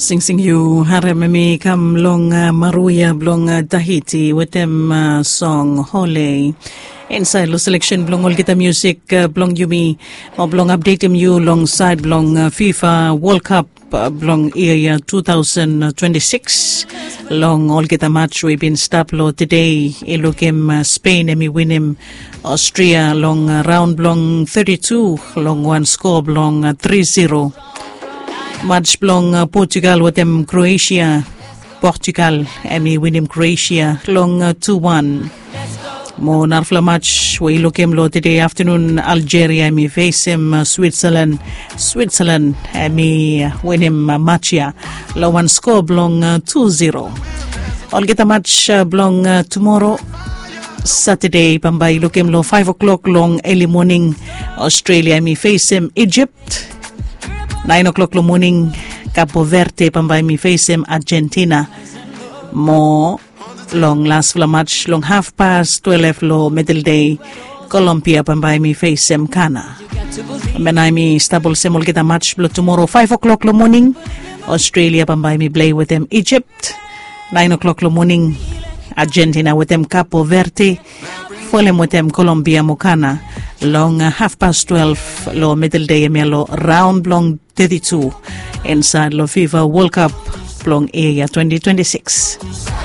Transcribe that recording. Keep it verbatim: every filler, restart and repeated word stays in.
Singsing yu harem em i kam long uh, maruya blong uh, Tahiti wetem uh, song Hole. Inside lo selection blong olgeta music uh, blong yumi, o blong updatem yu long side blong uh, FIFA World Cup uh, blong ia ia two thousand twenty-six. Long olgeta match we bin stap lo today, i lukim uh, Spain em i winim Austria long uh, round blong thirty-two long wan score blong uh, three zero. Match blong uh, Portugal wetem Croatia. Portugal em i winim Croatia long uh, two one. Mo narafala match we i lukim lo today afternoon, Algeria em i facem uh, Switzerland. Switzerland em i uh, winim uh, match ia long wan score blong uh, two zero. Olgeta match uh, blong uh, tomorrow Saturday bambae i lukim lo five o'clock long early morning, Australia em i facem Egypt. Nine o'clock lo morning, Capo Verde bambae em i facem Argentina. Mo long lasfala match long half past twelve lo middle day, Colombia bambae em i facem Ghana. Mena em i stap olsem olgeta match blo tomorrow, five o'clock lo morning, Australia bambae em i play wetem Egypt. Nine o'clock lo morning, Argentina wetem Capo Verde, folem wetem Colombia mo Ghana long uh, half past twelve lo middle day, em ia lo round blong thirty-two inside lo FIFA World Cup blong ia ia twenty twenty-six.